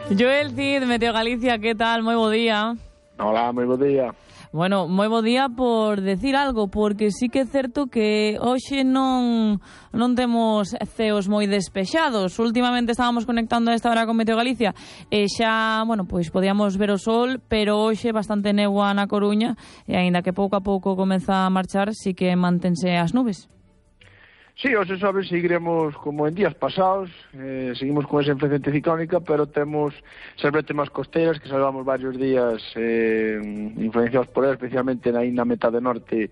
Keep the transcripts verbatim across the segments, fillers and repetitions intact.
Joel Cid, Meteo Galicia, que tal? Moi bo día. Hola, moi bo día. Bueno, moi bo día por decir algo, porque sí que é certo que hoxe non non temos ceos moi despexados. Últimamente estábamos conectando a esta hora con Meteo Galicia e xa, bueno, pois podíamos ver o sol, pero hoxe bastante negua na Coruña e aínda que pouco a pouco comeza a marchar, sí que mantense as nubes. Sí, hoxe sabes, seguiremos como en días pasados, eh, seguimos con esa influencia anticiclónica, pero temos servete máis costeiras que salvamos varios días eh, influenciados por ela, especialmente na, na metade norte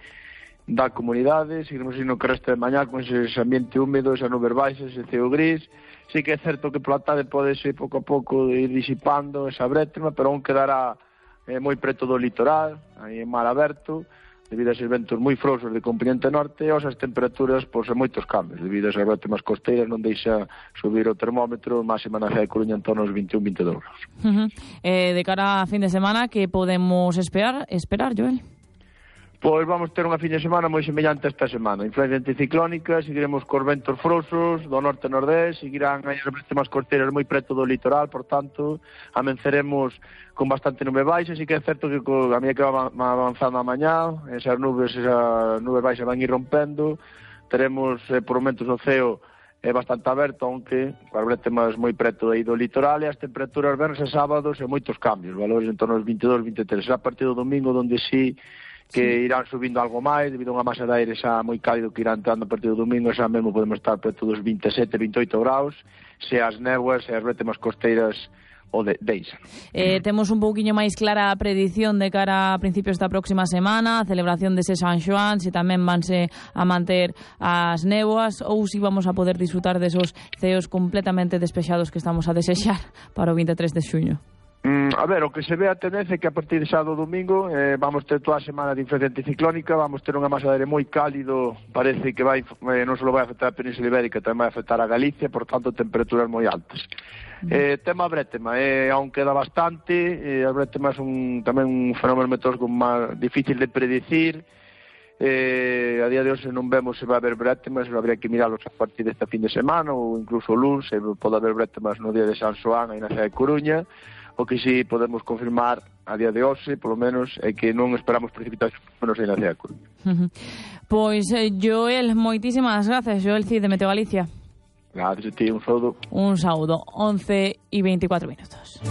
da comunidade. Seguiremos indo que resta de mañá con ese ambiente húmedo, esa nube baixa, ese ceo gris. Sí que é certo que pola tarde pode ser pouco a pouco ir disipando esa brétema, pero aún quedará eh, moi preto do litoral, aí en mar aberto, debido a esos ventos moi frouxos de componente norte, e as temperaturas, pois, a moitos cambios, debido a esas brétemas costeiras, non deixa subir o termómetro, máxima na cidade de Coruña en torno aos veintiún, veintidós graus. Uh -huh. eh, de cara a fin de semana, que podemos esperar, esperar, Joel? Pois vamos ter unha fin de semana moi semellante a esta semana. Influencia anticiclónica, seguiremos cos ventos frouxos do norte e nordés, seguirán as brétemas costeiras moi preto do litoral, por tanto, amenceremos con bastante nube baixa. Sí que é certo que a medida que va avanzando a mañá, esas nubes, esas nubes baixas van ir rompendo, teremos eh, por momentos o ceo é bastante aberto, aunque as brétemas moi preto aí do litoral, e as temperaturas vernes e sábados e moitos cambios, valores en torno aos veintidós, veintitrés. Será a partir do domingo onde sí que sí irán subindo algo máis, debido a unha masa de aire xa moi cálido que irá entrando a partir do domingo, xa mesmo podemos estar preto dos veinte e sete, veinte e oito graus, se as néboas e as brétemas costeiras o de, deixan. Eh, temos un pouquiño máis clara a predición de cara a principios da próxima semana, a celebración dese San Xoán, se tamén vanse a manter as néboas, ou se vamos a poder disfrutar desos ceos completamente despexados que estamos a desexar para o veintitrés de xuño. Mm, a ver, o que se ve a tendencia é que a partir de sábado domingo eh, vamos ter toda a semana de influencia anticiclónica, vamos ter unha masa de aire moi cálido, parece que vai eh, non só vai afectar a Península Ibérica, tamén vai afectar a Galicia, por tanto temperaturas moi altas. Mm. Eh, tema brétema, eh, aún queda bastante, eh, as brétemas son tamén un fenómeno meteorológico máis difícil de predicir. Eh, a día de hoxe non vemos se vai haber brétemas, habría que miralos a partir desta fin de semana ou incluso o luns, se pode haber brétemas no día de San Xoán aí na cidade de Coruña. O que sí podemos confirmar a día de hoxe, polo menos, é que non esperamos precipitacións menos aí na cidade de Coruña. Uh -huh. Pois, eh, Joel, moitísimas gracias, Joel Cid de Meteo Galicia. Gracias a ti, un saúdo. Un saúdo, once e veinticuatro minutos.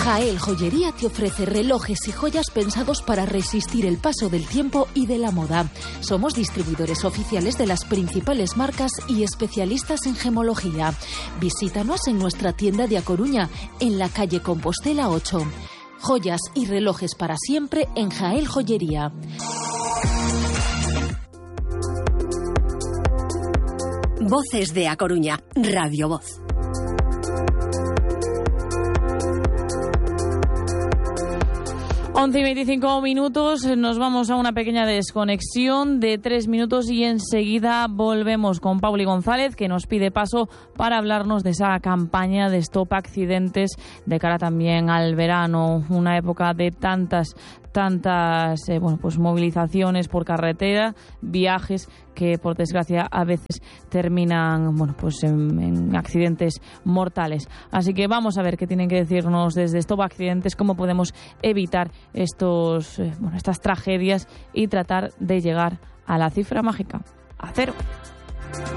Jael Joyería te ofrece relojes y joyas pensados para resistir el paso del tiempo y de la moda. Somos distribuidores oficiales de las principales marcas y especialistas en gemología. Visítanos en nuestra tienda de A Coruña, en la calle Compostela ocho. Joyas y relojes para siempre en Jael Joyería. Voces de A Coruña, Radio Voz. once y veinticinco minutos, nos vamos a una pequeña desconexión de tres minutos y enseguida volvemos con Pauli González, que nos pide paso para hablarnos de esa campaña de Stop Accidentes de cara también al verano, una época de tantas tantas eh, bueno, pues movilizaciones por carretera, viajes que por desgracia a veces terminan bueno, pues en, en accidentes mortales. Así que vamos a ver qué tienen que decirnos desde Stop Accidentes, cómo podemos evitar estos eh, bueno, estas tragedias y tratar de llegar a la cifra mágica, a cero.